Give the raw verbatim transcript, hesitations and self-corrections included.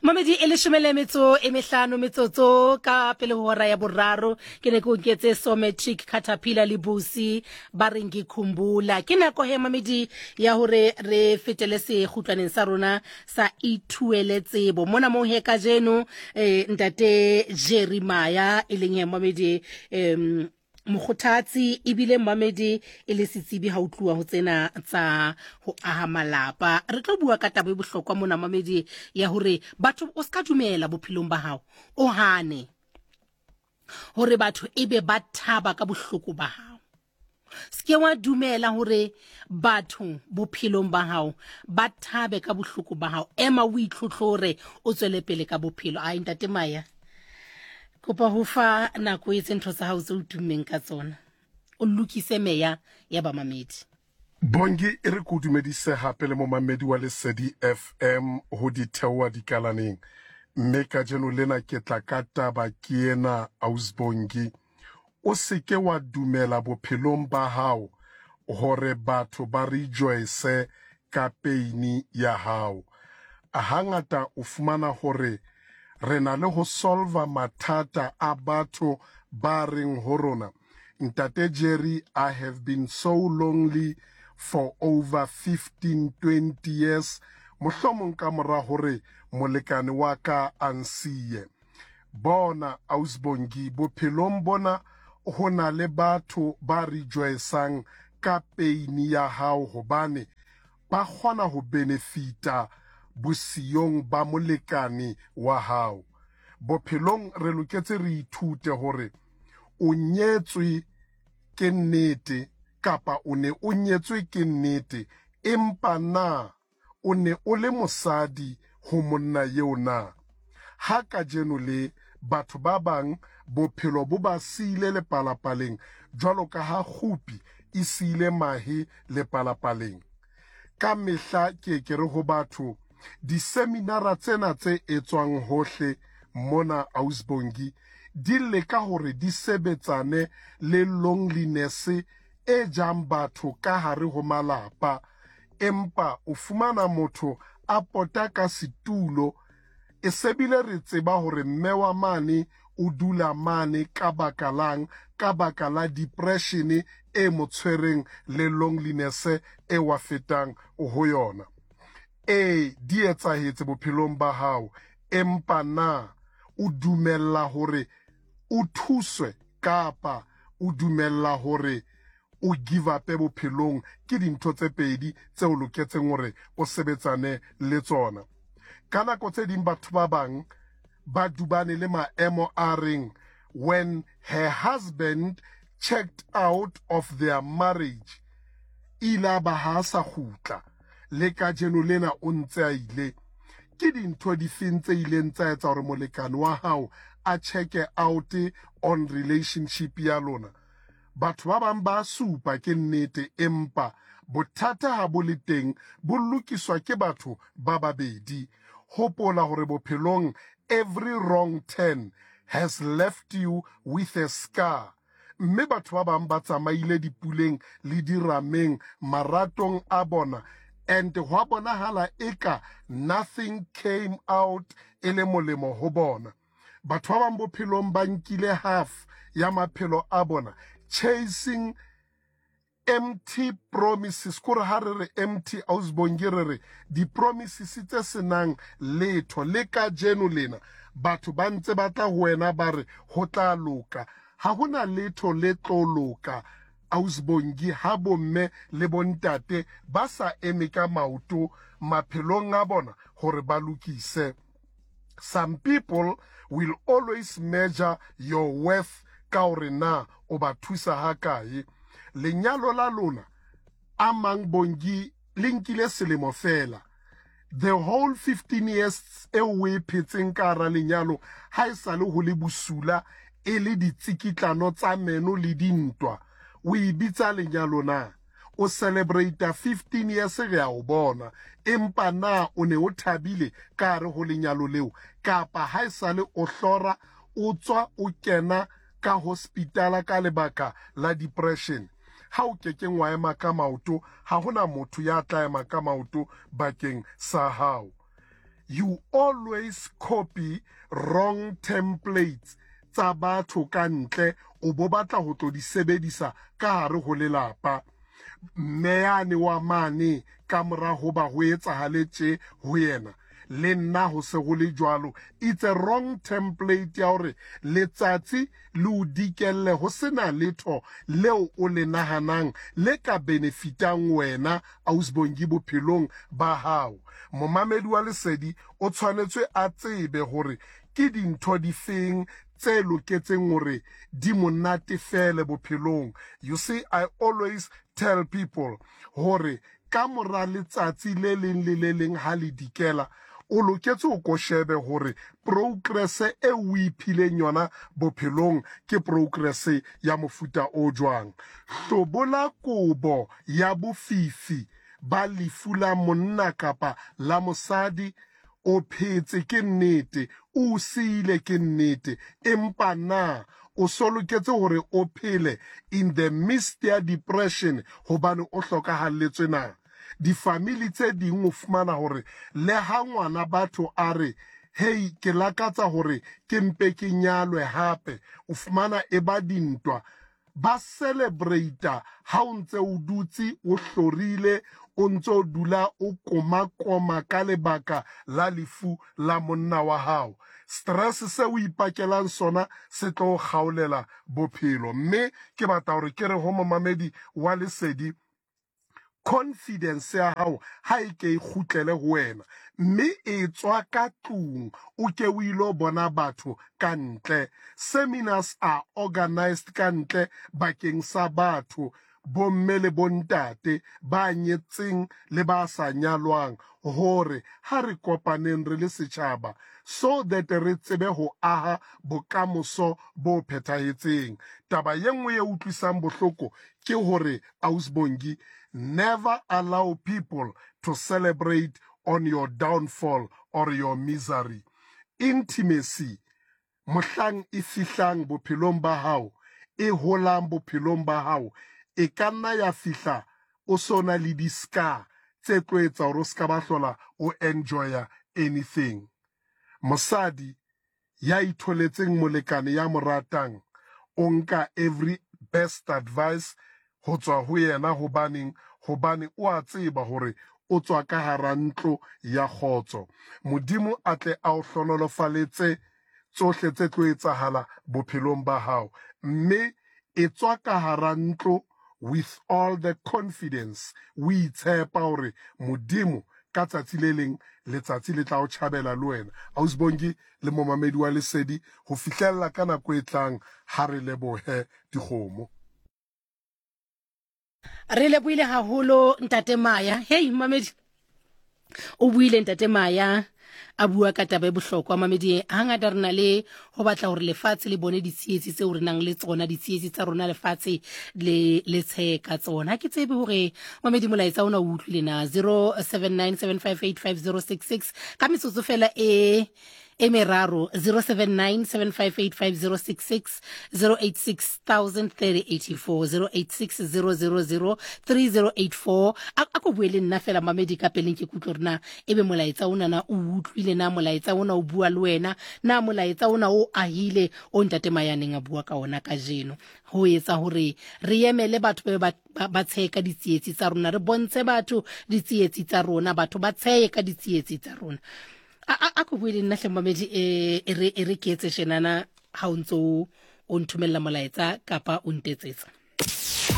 Mamedi e leshome le metso e mehlano metsotso ka pele ho hora ya boraro. Ke ne ke o nketse Somatic Caterpillar le Busi ba reng ke khumbula. Ke nako he mamedi ya hore re fetele sekgutlwaneng sa rona sa ithuele tsebo. Mona moo he kajeno eh, ntate Jerry Maya e leng he mamedi em mokgothatsi ebile mmamedi e le setsebi ha o tluwa ho tsena tsa ho aha malapa. Re tlo bua ka taba e bohlokwa mona mamedi ya hore batho o ska dumela bophelong ba hao, o hane hore batho ebe ba thaba ka bohloko ba hao. Se wa dumela hore batho bophelong ba hao ba thabe ka bohloko ba hao. Ema o itlhotlhore, o tswele pele ka bophelo. Ai ntate Maya, kopa ho fa nako e etse ntho tsa hao tse o tummeng ka tsona, o lokise meya ya bamamedi. Bongi, e re ke o dumedise hape le momamedi wa Lesedi F M ho di theoha dikalaneng. Mme kajeno lena ke tla ka taba ke ena, Ausbongi. O seke wa dumela bophelong ba hao hore batho ba rejoice ka pain ya hao. Hangata o fumana hore re na le ho solva mathata a batho ba reng ho rona. Ntate Jerry, I have been so lonely for over fifteen, twenty years. Mohlomong ka mora hore molekane wa ka a nsiye. Bona Ausbongi, bophelong bona ho na le batho ba rejoicang ka pain ya hao hobane ba kgona ho benefita bosiyong ba molekane wa hao. Bophelong re loketse re ithute hore o nyetswe ke nnete kapa o ne o nyetswe ke nnete, empa na o ne o le mosadi ho monna eo na? Ha kajeno le batho ba bang bophelo bo ba siile lepalapaleng jwalo ka ha kgupi e siile mahe lepalapaleng. Ka mehla ke ke re ho batho, diseminara tsena tse etswang hohle mona Ausbongi di leka hore di sebetsane le loneliness e jang batho ka hare ho malapa, empa o fumana motho a pota ka setulo. E sebile re tseba hore mme wa mane o dula mane ka baka lang, ka baka la depression e mo tshwereng le loneliness e wa fetang ho yona. E di etsahetse bophelong ba hao, empa na o dumella hore o thuswe kapa o dumella hore o give up bophelong? Ke dintho tse pedi tse o loketseng hore o sebetsane le tsona. Ka nako tse ding batho ba bang ba dubane le maemo a reng when her husband checked out of their marriage, ile ba ha sa kgutla, le kajeno lena o ntse a ile. Ke dintho difeng tse ileng tsa etsa hore molekane wa hao a check out on relationship ya lona? Batho ba bang ba supa ke nnete, empa bothata ha bo le teng bo lokiswa ke batho ba babedi. Hopola hore bophelong every wrong turn has left you with a scar. Mme batho ba bang ba tsamaile dipuleng le dirameng maratong a bona, and hwa bonahala eka nothing came out e le molemo ho bona. Batho ba bang bophelong ba nkile half ya maphelo a bona chasing empty promises. Kore ha re re empty Ausbongi, re re di-promises tse senang letho. Le kajeno lena batho ba ntse ba tla ho wena ba re ho tla loka. Ha hona letho le tlo loka Ausbongi ha bomme le bontate ba sa eme ka maoto maphelong a bona hore ba lokise. Some people will always measure your worth ka hore na o ba thusa ha kae. Lenyalo la lona a mang Bongi le nkile selemo fela. The whole fifteen years eo o e phetseng ka hara lenyalo ha e sale ho le bosula e le ditsikitlano tsa meno le dintwa. O e bitsa lenyalo na? O celebrate fifteen years re a o bona, empa na o ne o thabile ka hare ho lenyalo leo? Kapa ha e sale o hlora o tswa o kena ka hospitala ka lebaka la depression? Ha o kekeng wa ema ka maoto, ha hona motho ya tla ema ka maoto bakeng sa hao. You always copy wrong templates tsa batho ka ntle, o bo batla ho tlo di sebedisa ka hare ho lelapa. Mme yane wa mane ka mora ho ba ho etsahale tje ho yena, le nna ho se ho le jwalo. It's a wrong template ya hore letsatsi le o dikelle ho sena letho leo o le nahanang le ka benefitang wena Ausbongi bophelong ba hao. Momamedi wa Lesedi o tshwanetse a tsebe hore ke dintho difeng tse loketseng hore di monatefele bophelong. You see, I always tell people hore ka mora letsatsi le leng le le leng ha le dikela, o loketse o ko shebe hore progress e o iphileng yona bophelong ke progress ya mofuta o jwang. Hlobola kobo ya bofifi ba lefu la monna kapa la mosadi. O phetse ke nnete, o siile ke nnete, empa na o so loketse hore o phele in the midst ya depression hobane o hlokahalletswe na? Difamili tse ding o fumana hore le ha ngwana batho a re, hey, ke lakatsa hore ke mpe ke nyalwe hape, o fumana e ba dintwa. Ba celebrate ha o ntse o dutse o hlorile, o ntse o dula o koma-koma ka lebaka la lefu la monna wa hao. Stress se o ipakelang sona se tlo o kgaolela bophelo. Mme ke batla hore ke re ho momamedi wa Lesedi, confidence ya hao ha e ke e kgutlele ho wena, mme e tswa ka tlung, o ke o ilo bona batho ka ntle. Seminars are organized ka ntle bakeng sa batho, bomme le bontate ba nyetseng le ba sa nyalwang, hore ha re kopaneng re le setjhaba so that re tsebe ho aha bokamoso bo phethahetseng. Taba ye nngwe e utlwisang bohloko ke hore Ausbongi, never allow people to celebrate on your downfall or your misery. Intimacy, mohlang e fihlang bophelong ba hao, e holang bophelong ba hao, e ka nna ya fihla o so na le di-scar tse tlo etsa hore o ska ba hlola o enjoya anything. Mosadi ya itholetseng molekane ya mo ratang, o nka every best advice ho tswa ho yena, hobaneng? Hobane o a tseba hore o tswa ka hara ntlo ya kgotso. Modimo a tle a o hlonolofaletse tsohle tse tlo etsahala bophelong ba hao, mme e tswa ka hara ntlo with all the confidence, o itshepa hore Modimo ka tsatsi le leng letsatsi le tla o tjhabela le wena. Ausbongi le momamedi wa Lesedi, ho fihlella ka nako e tlang, ha re lebohe dikgomo. Re lebohile haholo Ntate Maya. Hey mamedi, o buile Ntate Maya a bua ka taba e bohlokwa. Mamedi, hangata re na le ho batla hore lefatshe le bone ditsietsi tseo re nang le tsona, ditsietsi tsa rona lefatshe le le tshe ka tsona. Ha ke tsebe hore mamedi molaetsa ona o utlwile na. Zero seven nine seven five eight five zero six six ka metsotso fela e e meraro, zero seven nine seven five eight five zero six six, zero eight six thousand thirty eighty four, zero eight six zero zero zero three zero eight four. A ko bue le nna fela mamedi ka peleng, ke kutlwe hore na ebe molaetsa ona na o utlwile na, molaetsa ona o bua le wena na, molaetsa ona o ahile o Ntate Maya neng a bua ka ona kajeno, ho etsa hore re emele batho ba ba ba tshehe ka ditsietsi tsa rona, re bontshe batho ditsietsi tsa rona, batho ba tshehe ka ditsietsi tsa rona. A a ko bue le nna hle mamedi, e re e re ke etse tjenana ha o ntso o nthomella molaetsa kapa o ntetsetsa.